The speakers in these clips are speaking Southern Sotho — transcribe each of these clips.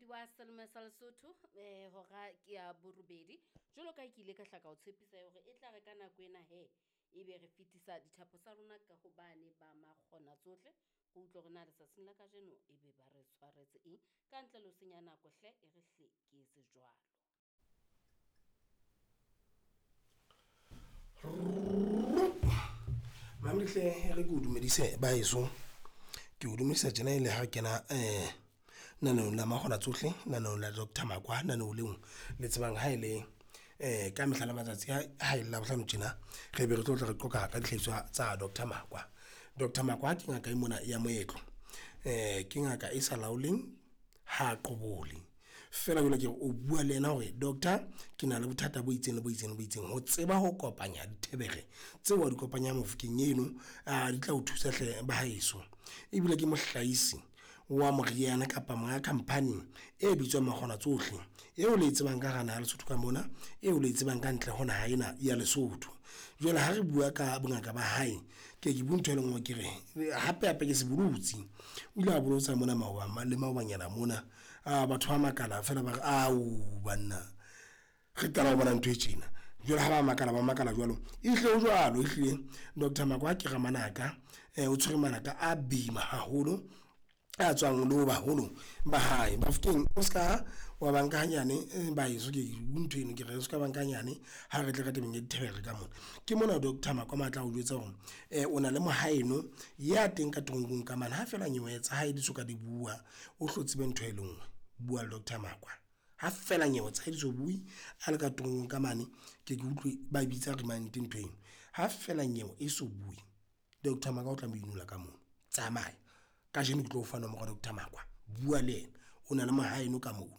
Momamedi wa Selemo sa Lesotho, hora ke ya borobedi. Jwalo ka ha ke ile ka hla ka o tshepisa hore e tla re ka nako ena he, ebe re fetisa dithapo tsa rona ka hobane ba makgona tsohle. Re utlwe hore na letsatsing la kajeno ebe ba re tshwaretse eng. Ka ntle le ho senya nako hle, e re hle ke etse jwalo. Mamdihle re ke o dumedise baheso ke o dumedisa tjena e le ha re kena naneong la makgona tsohle naneong la Doctor Makwa naneong leo le tsebang ha e le ka mehla le matsatsi ha e le Labohlano tjena re be re tlo tla re qoqa ka dihlahiswa tsa Doctor Makwa. Doctor Makwa ke ngaka e mona ya moetlo ke ngaka e sa laoleng ha qobole feela jwale ke re o bua le yena hore doctor ke na le bothata bo itseng le bo itseng le bo itseng ho tseba ho kopanya dithebere tseo wa di kopanya mofokeng eno a di tla o thusa hle ba haeso. Ebile ke mohlahisi wa moriana kapa monga company e bitswang Makgona Tsohle eo le e tsebang ka hara naha ya Lesotho ka mona eo le e tsebang ka ntle ho naha ena ya Lesotho. Jwale ha re bua ka bongaka ba hae ke ke bue ntho e le nngwe ke re hape hape ke sebolotsi. O ile a bolotsa mona maoba le maobanyana mona a batho ba makala feela ba re ao banna re qala ho bona ntho e tjena. Jwale ha ba makala ba makala jwalo ehlile ho jwalo ehlile Doctor Makwa ke ramanaka o tshwere manaka a boima haholo a tswang le ho baholo ba hae. Bafokeng o ska wa ba nka hanyane baheso ke ntho eno ke re o ska ba nka hanyane ha re tle ka tabeng ya dithebere ka mona. Ke mona Doctor Makwa a tla o jwetsa hore o na le mohaeno ya teng ka toronkong ka mane ha feela nyewe tsa hae di soka di bua o hlo tsebe ntho e le nngwe bua le Doctor Makwa. Ha feela nyewe tsa hae di so bue a le ka toronkong ka mane ke ke utlwe ba bitsa remand ntho eno. Ha feela nyewe e so bue Doctor Makwa o tla mo inola ka mono tsamaya kajeno ke tlo o fa nomoro ya Doctor Makwa bua le yena o na le mohaeno ka mono.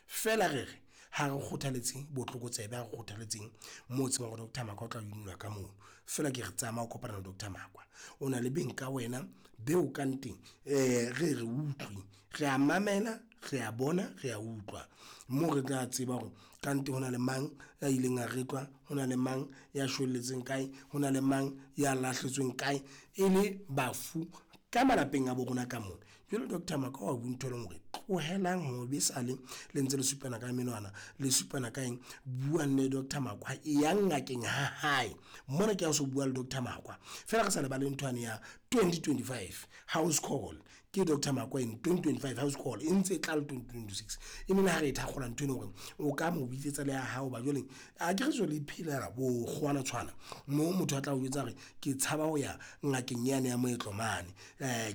Feela re re ha re kgothaletse botlokotsebe ha re kgothaletseng moo tsebang hore Doctor Makwa o tla o inola ka mono. Feela ke re tsamaya o kopana le Doctor Makwa o na le beng ka wena beo ka nteng re re utlwe re a mamela re a bona re a utlwa moo re tla tseba hore kante ho na le mang ya ileng a retlwa ho na le mang ya shwelletseng kae ho na le mang ya lahletsweng kae e le bafu ka malapeng a bo rona ka mona. Jwale Doctor Makwa wa bua ntho e leng hore tlohelang ho be sale le ntse le supana ka menwana le supana ka eng buang le Doctor Makwa e yang ngakeng ha hae mona ke ha o so bua le Doctor Makwa feela re sa lebale ntho yane ya 2025 house call ke Doctor Makwa eno 2025 house call e ntse e tla le 2026 e neng ha re e thakgola ntho eno hore o ka mo bitsetsa le ya hao ba jwale a ke re jwale iphelela bo kgwana tshwana mo motho a tla o jwetsa hore ke tshaba ho ya ngakeng yane ya moetlo mane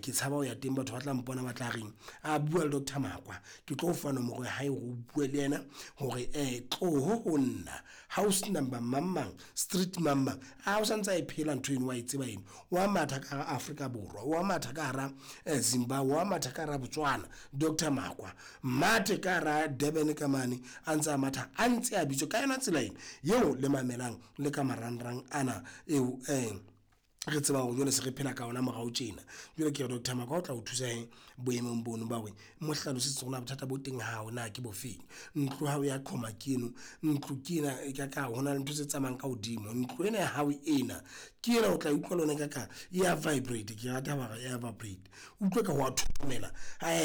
ke tshaba ho ya teng batho ba tla mpona ba tla reng a bua le Doctor Makwa ke tlo fa nomoro ya hae hore o bue le yena hore tloho ho nna house number mang mang street mang mang a o santse a e phela ntho eno wa e tseba eno wa matha ka hara Afrika Borwa wa matha ka hara Zimbabwe wa matha ka hara Botswana Doctor Makwa mathe ka hara Durban ka mane a ntse a matha a ntse a bitswa ka yona tsela eno eo le mamelang le ka marangrang ana eo re tseba hore jwale se re phela ka ona morao tjena. Jwale ke re Doctor Makwa o tla o thusa he boemong bono ba hore mo hlalosetse hore na bothata bo teng hao na ke bofeng. Ntlo hao ya qhoma ke eno ntlo ke ena e ka ka ho na le ntho tse tsamayang ka hodimo ntlo ena ya hao ena ke ena o tla utlwa le yona ka ka ya vibrate ke rata ba re ya vibrate utlwe ka ho a thothomela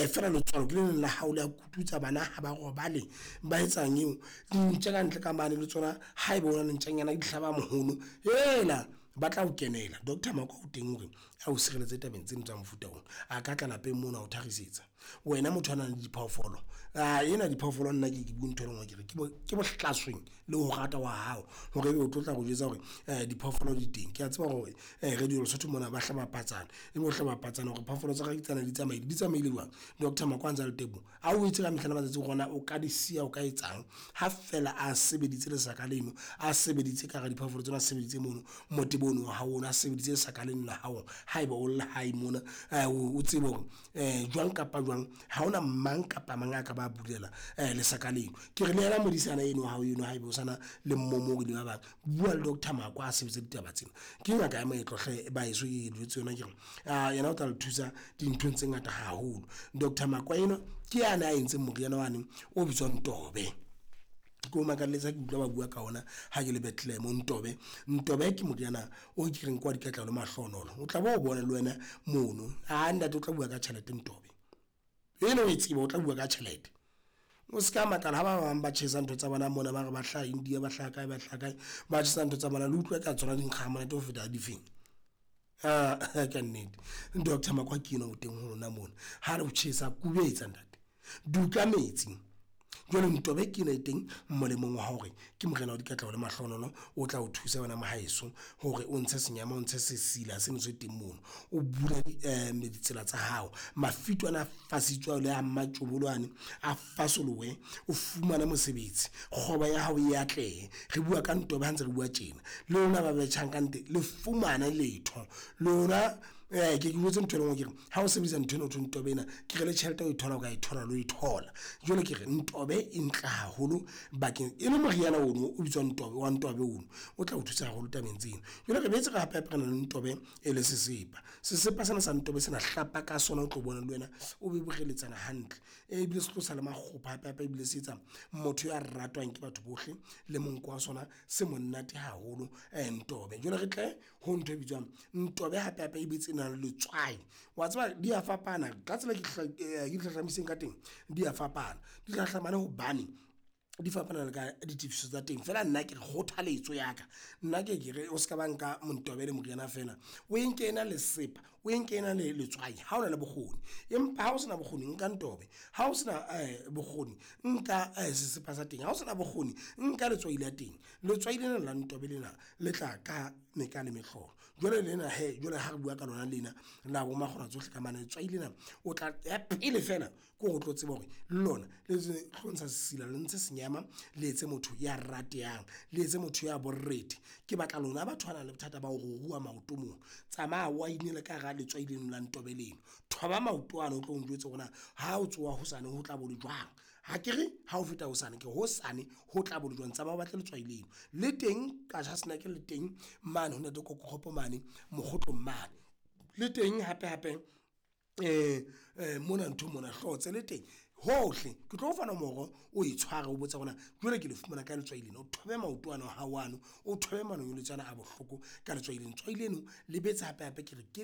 feela letswalo ke le leng la hao le a kututsa bana ha ba robale ba etsang eo dintja ka ntle ka mane le tsona haeba o na le ntjanyana di hlaba mohono ela ba tla o kenela. Doctor Makwa o teng hore a o sireletse tabeng tseno tsa mofuta ona a ka tla lapeng mona o tharisetsa wena motho a nang le diphoofolo a ena diphoofolo nna ke bue ntho e le nngwe ke re ke bohlasweng le ho rata wa hao hore ebe o tlo tla go jwetsa hore diphoofolo di teng. Ke a tseba hore Radio Lesotho mona ba hlaba patsana ebe o hlaba patsana hore phoofolo tsa ka ke tsena di tsamaile di tsamaile jwang. Doctor Makwa a ntse a le teng a o etse ka mehla le matsatsi rona o ka di siya o ka etsang ha feela a sebeditse lesaka leno a sebeditse ka hara diphoofolo tsena a sebeditse mono motebo ono wa hao ono a sebeditse lesaka leno la hao haeba o le hae mona o tsebe hore jwang kapa jwang ha hona mang kapa mang a ka ba bulela lesaka leno. Ke re le yena modisana eno wa hao eno haeba o sana le mmomori le ba bang bua le Doctor Makwa a sebetse ditaba tsena. Ke ngaka ya moetlo hle baheso ke jwetse yona ke re yena o tla le thusa dinthong tse ngata haholo. Doctor Makwa eno ke yane a entseng moriana wane o bitswang Tobe. Ke o makalletsa ke utlwa ba bua ka ona ha ke le Bethlehem Ntobe. Ntobe ke moriana o ke reng kwa dikatlalo mahlonolo o tla bo o bona le wena mono a ntate o tla bua ka tjhelete Ntobe eno o e tseba o tla bua ka tjhelete. O se ka makala ha ba bang ba tjhesa ntho tsa bona mona ba re ba hlaha India, ba hlaha kae, ba hlaha kae. Ba tjhesa ntho tsa bona le utlwa eka tsona di nkga ha monate ho feta difeng? Kannete. Doctor Makwa ke enwa o teng ho lona mona, ha re ho tjhesa kubetsa ntate, duka metsi. Jwale Ntobe ke ena e teng molemong wa hore ke moriana wa dikatleho le mahlohonolo, o tla o thusa wena mohaeso hore o ntshe senyama, o ntshe sesila seno se teng mono. O bule ditsela tsa hao, mafito ana a fasitswe le a mmatjobolo ane a fasolohe, o fumane mosebetsi, kgwebo ya hao e atlehe. Re bua ka Ntobe ha ntse re bua tjena, le lona ba betjhang ka nnete le fumane letho. Lona ke ke o jwetse ntho e le nngwe ke re, ha o sebedisa nthwena ho thweng Ntobe ena, ke re le tjhelete ho e thola o ka e thola le ho e thola. Jwale ke re Ntobe e ntle haholo bakeng, e le moriana ono o bitswang Ntobe, wa Ntobe ono o tla o thusa haholo tabeng tseno. Jwale re boetse re hape-hape re na le Ntobe e le sesepa. Sesepa sena sa Ntobe sena hlapa ka sona o tlo bona le wena o be boreletsana hantle. Ebile se tlosa le makgopho hape-hape ebile se etsa motho ya ratwang ke batho bohle le monko wa sona se monate haholo Ntobe. Jwale re tle ho ntho e bitswang Ntobe hape-hape e boetse e na le letswai. Wa tseba di a fapana ka tsela e ke di hlahlamiseng ka teng, di a fapana. Di hlahlamane hobane di fapana le ka ditefiso tsa teng. Feela nna ke re kgothaletso ya ka, nna ke ye ke re o ska ba nka Ntobe e le moriana feela, o e nke ena le sesepa, o e nke ena le letswai ha o na le bokgoni. Empa ha o sena bokgoni, nka Ntobe, ha o sena bokgoni nka sesepa sa teng, ha o sena bokgoni nka letswai la teng. Letswai lena la Ntobe lena le tla ka meka le mehlolo. Jwale lena hee, jwale ha re bua ka lona lena la bo makgona tsohle ka mane, letswai lena o tla, ya pele feela ke hore o tlo tseba hore le lona le tlo ntsha sesila, le ntshe senyama, le etse motho ya ratehang, le etse motho ya borethe. Ke batla lona batho ba nang le bothata ba ho ruruha maoto mona, tsamaya o a inele ka hara letswai leno la Ntobe leno. Thoba maoto ano o tlo njwetse hore na ha o tsoha hosane ho tla bo le jwang? Akere ha o feta hosane, ke hosane ho tla bo le jwang? Tsamaya o batle letswai leno. Le teng Qacha's Nek, le teng mane ho ntate Koko mane Mokgotlong mane. Le teng hape-hape mona nthong mona Hlotse le teng, hohle. Ke tlo o fa nomoro o e tshware o botse hore na jwale ke le fumana kae letswai lena? O thobe maoto ano a hao ano, o thobe manonyeletso ana a bohloko ka letswai lena. Letswai leno le boetse hape-hape ke re ke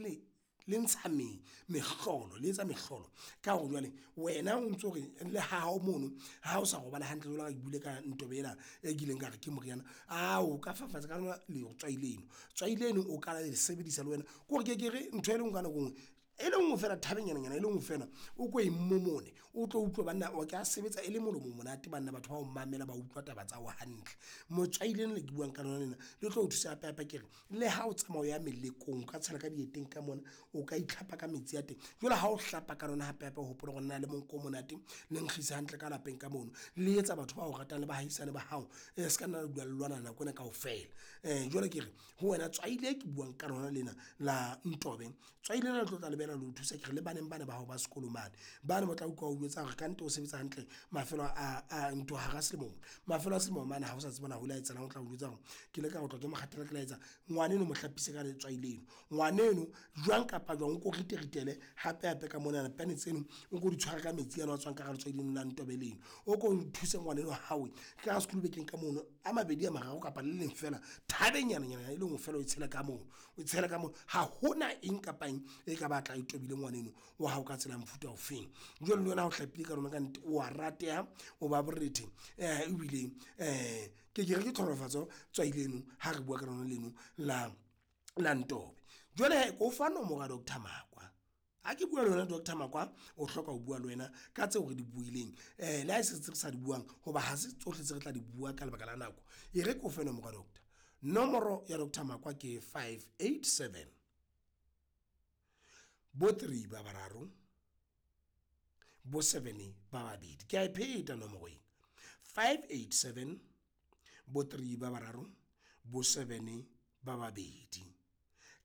le ntsha mehlolo, le etsa mehlolo ka hore jwale wena o ntso re le ha hao mono ha o sa robala hantle jwalo ka ha ke buile ka Ntobe ena e kileng ka re ke moriana. Ao, o ka fafatsa ka lona letswai leno. Tswai leno o ka le sebedisa le wena, ke hore ke ye ke re ntho e le nngwe ka nako e nngwe, e le nngwe feela thabenyananyana e le nngwe feela o ko e momone o tlo utlwe banna o ka sebetsa e le molomo monate banna batho ba o mamela, ba utlwa taba tsa hao hantle. Motswai lena le ke buang ka lona lena le tlo o thusa hape-hape ke re, le ha o tsamaya o ya melekong, o ka tshela ka dieteng ka mona, o ka itlhapa ka metsi a teng. Jwale ha o hlapa ka lona hape-hape o hopole hore lena le monko o monate, le nkgisa hantle ka lapeng ka mono. Le etsa batho ba o ratang le bahaisane ba hao e ska nna la dula le lwana nako ena kaofela. Jwale ke re ho wena tswai le ke buang ka lona lena la Ntobe, tswai lena le tlo tla le boela le o thusa ke re le baneng bana ba hao ba sekolo mane. Bane ba tla utlwa o jwetsa hore kannete o sebetsa hantle mafelo a ntho hara selemo mona. Mafelo a selemo mane ha o sa tseba na ho la etsahalang, o tla o jwetsa hore ke ile ka otlwa ke mokgathala, ke la etsa. Ngwaneno mo hlapise ka letswai leno, ngwaneno jwang kapa jwang o ko rite-ritele hape-hape ka monana pane tseno o ko di tshware ka metsi ano a tswang ka hara letswai leno la Ntobe leno. O ko thuse ngwaneno hao ka sekulubekeng ka mono a mabedi a mararo kapa le leng feela thabenyananyana e le nngwe feela o e tshele ka mono, o tshele ka mono. Ha hona eng kapa eng e ka batla e tobile ngwaneno wa hao ka tsela ya mofuta ofeng. Jwale le wena ha o hlapile ka lona kannete o wa rateha, o ba borethe ebile ke ke re ke tlhonolofatso tswai leno ha re bua ka lona leno la Ntobe. Jwale hee ke o fa nomoro ya Doctor Makwa. Ha ke bua le wena Doctor Makwa, o hloka ho bua le wena ka tseo re di buileng le ha e se tse re sa di buang ho ba ha se tsohle tse re tla di bua ka lebaka la nako. E re ke o fe nomoro ya doctor. Nomoro ya Doctor Makwa ke 587, bo three ba bararo, bo seven ba babedi. Ke a e pheta nomoro ena, 587, bo three ba bararo, bo seven ba babedi.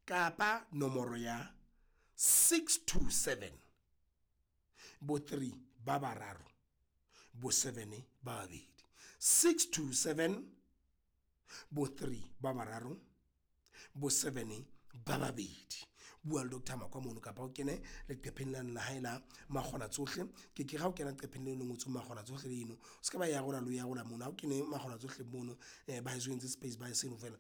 Kapa nomoro ya 627, bo three ba bararo, bo seven ba babedi. 627, bo three ba bararo, bo seven ba babedi. Bua le Doctor Makwa mono kapa o kene leqepheng lane la hae la makgona tsohle. Ke ke re ha o kena leqepheng leno le ngotsweng makgona tsohle leno, o ska ba e arola le ho e arola mono. Ha o kene makgona tsohle mono ba heso entse space ba seno feela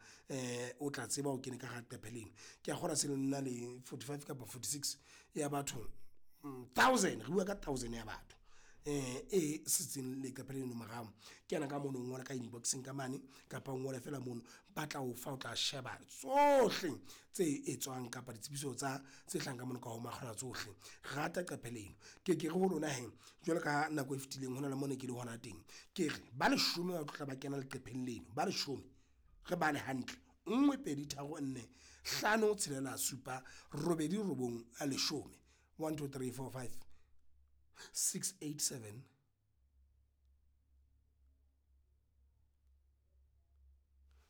o tla tseba o kene ka hara leqephe leno. Ke a kgolwa se le na le 45 kapa 46 ya batho, thousand, re bua ka thousand ya batho. e setseng leqephe leno morao. Kena ka mono o ngole ka inbox-eng ka mane kapa o ngole feela mono. Ba tla o fa, o tla sheba tsohle tse etswang kapa ditsebiso tsa tse hlahang ka mono ka ho makgona tsohle. Rata qephe leno. Ke ke re ho lona hee, jwalo ka nako e fetileng hona le mo ne ke le hona teng. Ke re ba leshome ba tlo tla ba kena leqepheng leno, ba leshome. Re bale hantle, nngwe, pedi, tharo, nne, hlano, tshelela, supa, robedi, robong, a leshome. One, two, three, four, five, six, eight, seven.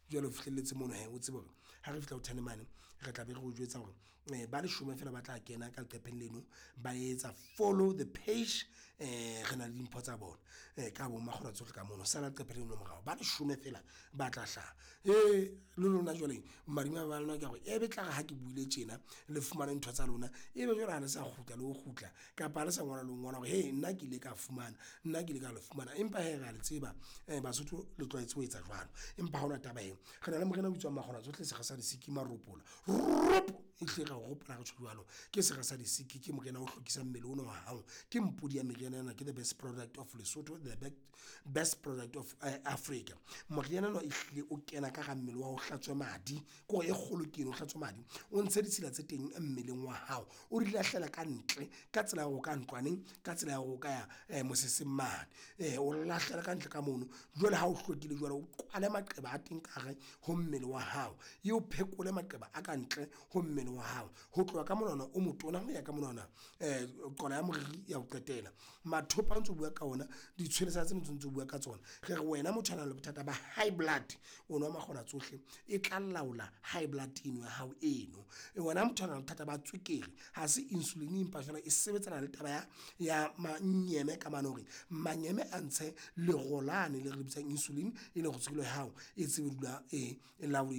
Jwale o fihlelletse mono hee, o tsebe hore ha re fihla ho ten mane re tla be re o jwetsa hore ba leshome feela ba tla kena ka leqepheng leno ba etsa follow the page. Re na le dimpho tsa bona ka bo makgona tsohle ka mono. Sala leqephe leno morao, ba leshome feela ba tla hlaha. Le lona jwale madimabe a lona ke a hore e be tlare ha ke buile tjena le fumane ntho tsa lona, ebe jwale ha le sa kgutla le ho kgutla kapa ha le sa ngola le ho ngola hore nna ke ile ka fumana, nna ke ile ka le fumana. Empa hee re a le tseba Basotho le tlwaetse ho etsa jwalo. Empa ha hona taba hee. Re na le moriana o bitswang makgona tsohle, sera sa disiki, maropola ropo! Ehlile re ao ropola ha re tjho jwalo. Ke sera sa disiki, ke moriana o hlwekisang mmele ona wa hao. Ke mpodi ya meriana ena, ke the best product of Lesotho, the best product of Africa. Moriana ona ehlile o kena ka hara mmele wa hao, o hlatswe madi. Ke hore e kgolo ke eno, o hlatswe madi, o ntshe ditshila tse teng mmeleng wa hao. O di lahlela ka ntle ka tsela ya hore o ka ntlwaneng, ka tsela ya hore o ka ya moseseng mane. O lahlela kantle ka mono. Jwale ha o hlwekile jwalo, o kwale maqeba a teng ka hare ho mmele wa hao. E o phekole maqeba a kantle ho mmele wa hao. Ho tloha ka monwana o motona ho ya ka monwana qola ya moriri ya ho qetela. Mathopa o ntso bua ka ona, ditshwelesa tsena tse ntso bua ka tsona. Re re wena motho a nang le bothata ba high blood, o nwa makgona tsohle e tla laola high blood eno ya hao eno. Wena motho a nang le bothata ba tswekere, ha se insulin empa jwale e sebetsana le taba ya manyeme ka mane hore manyeme a ntshe lero lane le re le bitsang insulin, e le hore tswekere ya hao e tsebe ho dula e .